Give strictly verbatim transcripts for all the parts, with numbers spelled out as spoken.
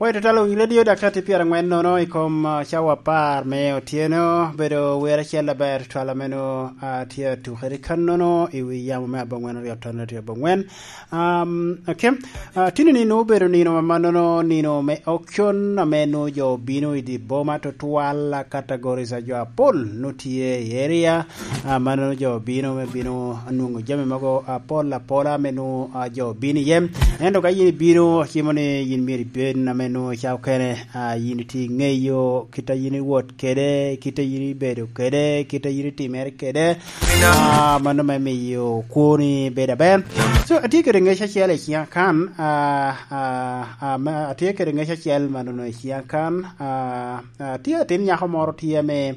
Wai tutwal Winy Radio, dakika tye pyerangwen nono i kom, ah, cawa apar me otyeno. Bedo wer acel aber tutwal a meno, ah, tye atukere kannono i wi yamo me abongwen aryo ton aryo abongwen. Um, okay. Ah, tini ni nwoŋo obedo nino amannono, nino me auction, ame nwoŋo jo obino i dye boma tutwal, ah, categories a jo apol nwoŋo tye i area. Ah, mannono jo obino me bino nwoŋo jami mogo apol apola ame nwoŋo, ah, jo obino iye. Ento ka yin ibino, acimo ni yin myero ibed ame nwoŋo ca okene, ah, yin itye iŋeyo kit a yin iwot kede, kit a yin ibedo kede, kit a yin itimere kede. Ah, mano me miyo kwoni bedo aber. So, atye kede ŋec acel i ciŋa kan, ah, ah, ah, ma, atye kede ŋec acel mannono i ciŋa kan, ah, ah, tye atin nyako moro tye ame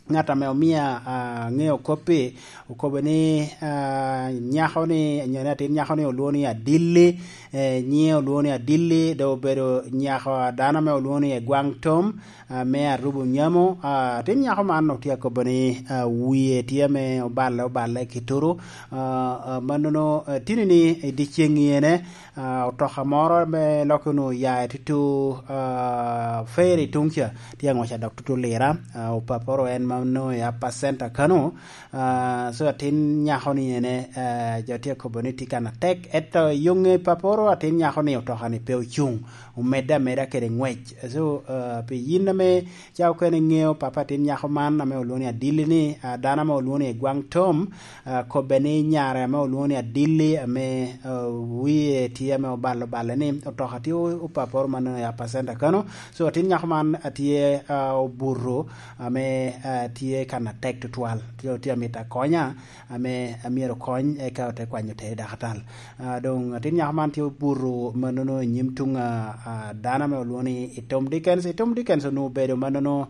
ŋat ame omia, ah, ŋeo kop-pi, okobo ni, ah, nyako-ni, nyo ni atin nyako-ni olwoŋo ni Adilli, eh, nyiŋe olwoŋo ni Adilli, dok obedo nyako a dano ame olwoŋo ni Egwaŋ Tom, ah, me Arubo Nyamo. Ah, atin nyako man otye akobo ni, ah, wie tye ame oballe, oballe ki turu. Ah, ah, mannono, eh, tini ni i dyeceŋ ene, ah, otoka moro ame lokke onwoŋo oya i tutu, ah, Ferry tuŋ ca, tye aŋwec a dok tutu Lira. Ah, opaporo en ma onwoŋo i Upper Center kano. Ah, so atin nyako-ni ene, ah, jo tye akobo ni tye kan atek, ento i yoŋe paporo atin nyako-ni otoka-ni pe ocuŋ, omedde ameda kede ŋwec. So, ah, pi yin ame ca okene iŋeo papa atin nyako man ame olwoŋo ni Adilli-ni, ah, dano ame olwoŋo ni Egwaŋ Tom, ah, kobbe ni nyare ame olwoŋo ni Adilli ame, ah, wie tye ame oballe oballe ni otoka tye o-, opaporo mannono i Upper Center kano. So, atin nyako man atye, ah, obuto ame, ah, tye kan atek tutwal. Tye, tye amito akonya, ame amyero okony, eka ote kwanyo tere dakatal. Ah, doŋ atin nyako man tye obuto mannono i nyim tuŋ a, a dano ame olwoŋo ni i Tom Dickens. I Tom Dickens onwoŋo obedo mannono,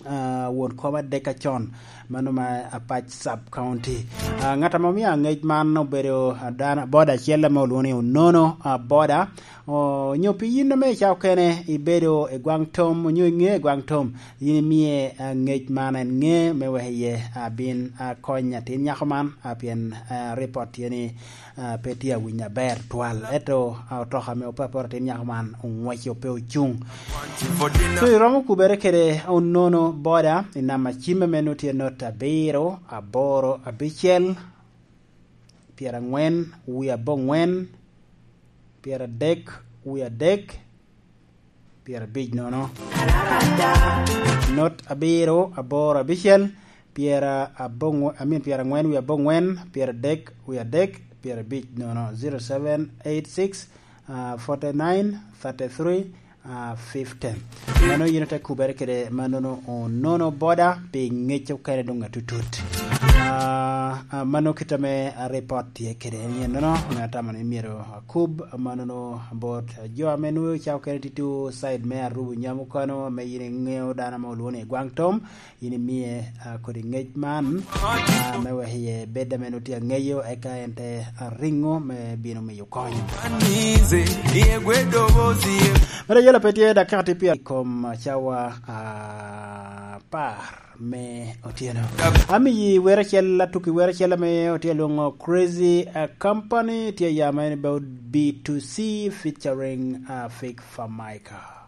ah, won kom adek acon, mano ma Apac Sub County. Ah, ŋat ame omio aŋec man obedo, ah, dano, boda acel ame olwoŋo ni Onono, ah, boda. O, onyo pi yin ame ca okene ibedo i Gwaŋ Tom, onyo iŋeo i Gwaŋ Tom, yin imie, ah, ŋec man en ŋe me wek iye abin akony atin nyako man, ah, pien, ah, ripot tye ni, ah, pe tye awinyo aber twal. Ento, ah, otoka ame opaporo atin nyako man oŋweco pe ocuŋ. So, iromo kubere kede Onono boda i namba cimme me nwoŋo tye not abiro, aboro, abicel, pyerangwen, wie aboŋwen, pyeradek, wie adek, pyerabic nono. Not abiro, aboro, abicel, pyera aboŋ-, I mean, pyerangwen, wie aboŋwen, pyeradek, wie adek, pyerabic nono. Zero seven eight six, ah, forty nine, thirty three, ah, fifty. Mano yin ote kubere kede mannono Onono boda pi ŋec okene doŋ atutut. Ah, ah, mano kit ame ripot tye kede en nono, ame atamo ni myero akub mannono bot jo ame nwoŋo ca okene tito side me Arubu Nyamo kano, ame yin iŋeo dano ame olwoŋo ni Gwaŋ Tom, yin imie, ah, kodi ŋec man, ah, me wek iye bed ame nwoŋo tye aŋeyo, eka en te, ah, riŋo me bino miyo kony. Mere yela pe tye dakika tye pyer i kom cawa apar me otyeno. Amiyi wer acel, atukki wer acel ame otye alwoŋo Crazy, ah, Company, tye ya ma en about B two C featuring, ah, Fik Famaica.